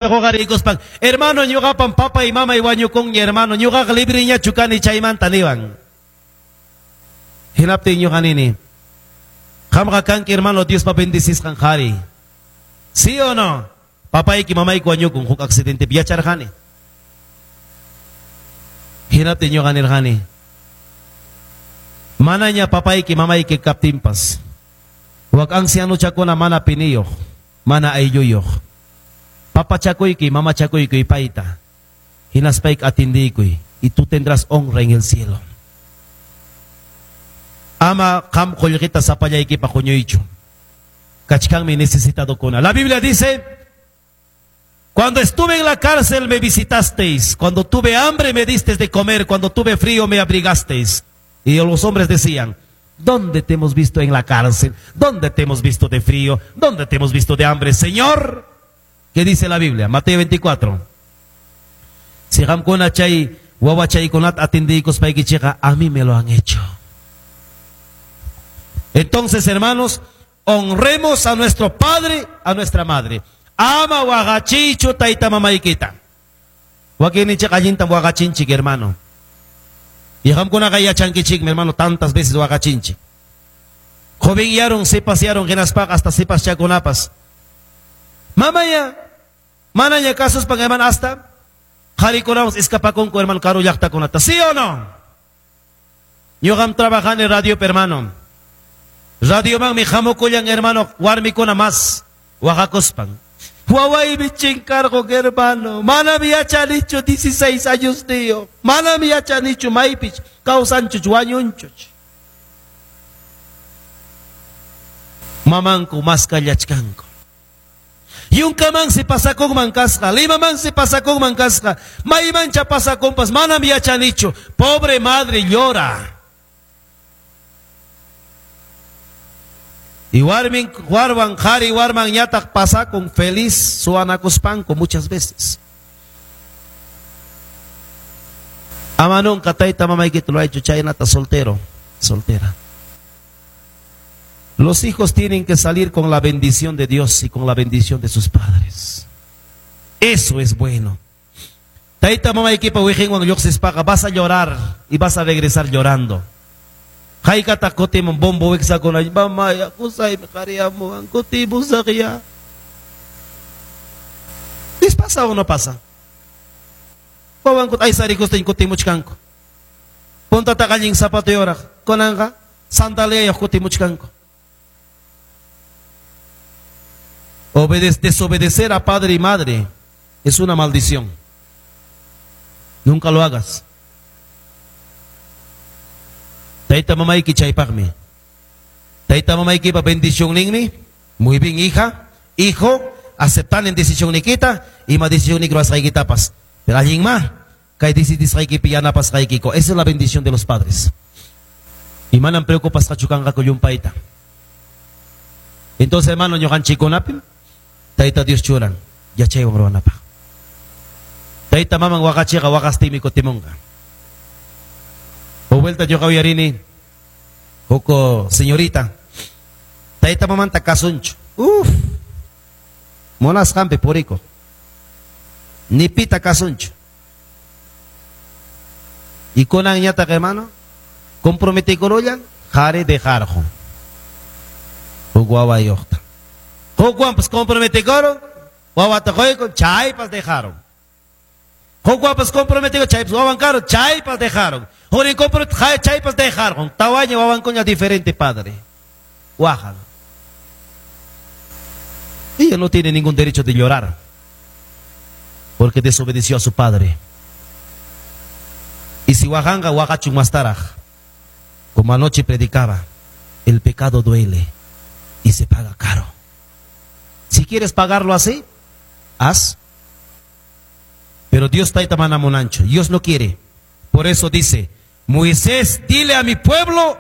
Huqariykuspan, hermano, ñuqapam papay mamay wañukunña, hermano, ñuqaqa libreñachu kani chaymanta niwan. Hinaptin ñuqa nini, qamqa kanki, hermano, Diospa bendecisqan qhari. ¿Sí o no? Papayki mamayki wañukun huk accidentepi yacharqani. Hinaptin ñuqa nirqani, manaña papayki mamayki kaptinpas, wak ancianuchakuna mana piniyuq, mana aylluyuq. Papachakuyki, mamachakuyki payta. Hinaspayki atindiykuy y tú tendrás honra en el cielo. Ama qam qullqita sapallaykipaq huñuychu. Kachkanmi necesitadokuna. La Biblia dice, cuando estuve en la cárcel me visitasteis, cuando tuve hambre me disteis de comer, cuando tuve frío me abrigasteis. Y los hombres decían, ¿dónde te hemos visto en la cárcel? ¿Dónde te hemos visto de frío? ¿Dónde te hemos visto de hambre? Señor, ¿qué dice la Biblia? Mateo 24. Si qamkuna chay wawachaykunata atindiykuspaykichikqa, a mí me lo han hecho. Entonces, hermanos, honremos a nuestro padre, a nuestra madre. Ama waqachiychu tayta mamaykita. Wakinninchik allintam waqachinchik, hermano. Y qamkunaqa yachankichikmi, hermano, tantas veces waqachinchik. Jovenyarun, sipasyarun, hinaspaqa hasta sipaschakunapas. Mamaya, manaña kasuspan, hermano, hasta qharikunapas escapakunku, hermano, karu llaqtakunata. ¿Sí o no? Ñuqam trabajani radio, hermano. Radiomanmi hamukullan, hermano, warmikuna más waqakuspan. Wawaymi chinkarqun, hermano. Manam yachanichu 16 años niyo. Manam yachanichu maypich kawsanchuch wañunchuch. Mamanku maskallachkanku. Yunkamansi pasakunman kasqa, Limamansi pasakunman kasqa, maymancha pasakunpas manam yachanichu. Pobre madre llora. Y warmin, warwan, qhari warman ñataq pasakun feliz suwanakuspanku muchas veces. Ama nunca tayta mamaykita ruwaychu chaynata soltero, soltera. Los hijos tienen que salir con la bendición de Dios y con la bendición de sus padres. Eso es bueno. Tayta mamaykipa wiqinwan lluqsispaqa vas a llorar y vas a regresar llorando. Haykataq kutimun bombo wiksakuna, mamaya, qusaymi qhariyamuwan, kutimusaqya. ¿Les pasa o no pasa? Wawankuta aysarikustin kutimuchkanku. Puntataqa allin zapatuyuqraq, kunanqa sandaliayuq kutimuchkanku. Desobedecer a padre y madre es una maldición. Nunca lo hagas. Tayta mamayki chaypaqmi. Tayta mamaykipa bendicionninmi. Muy bien, hija, hijo, aceptan en decisionnikita ima decisionnik ruwasqaykitapas. Pero allinma kay decidisqaykipi yanapasqaykiko. Esa es la bendición de los padres. Y manam preocupasqachu kanqaku llumpayta. Entonces, hermano, ñuqanchikkunapim Tayta Dios churan yachaywan ruwanapaq. Tayta maman waqachiqa waqastinmi kutimunqa. O vuelta ñuqa uyarini huk señorita tayta mamanta kasunchu. Uf, munasqanpi purikuq. Ni pita kasunchu. Y kunanñataq, hermano, comprometikurullan qhari dejarqun. Huk wawayuqta. Hukwanpas comprometikuron, wawata quykun, chaypas dejaron. Hukwanpas comprometikun, chaypas wawan karun, chaypas dejaron. Hurin compromet, chaypas dejaron. Tawaña wawankuña diferente padre. Waqan. Ella no tiene ningún derecho de llorar, porque desobedeció a su padre. Y si waqanqa waqachun mastaraq. Como anoche predicaba, el pecado duele y se paga caro. Si quieres pagarlo así, haz. Pero Dios tayta mana munanchu. Dios no quiere. Por eso dice, Moisés, dile a mi pueblo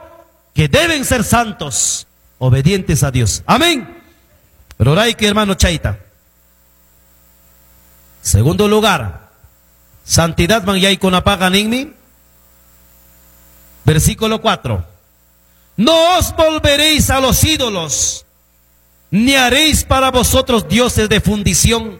que deben ser santos, obedientes a Dios. Amén. Pero ahora hay que, hermano, chaita. Segundo lugar, santidad man yaykunapaqa ninmi. Versículo 4. No os volveréis a los ídolos, ni haréis para vosotros dioses de fundición.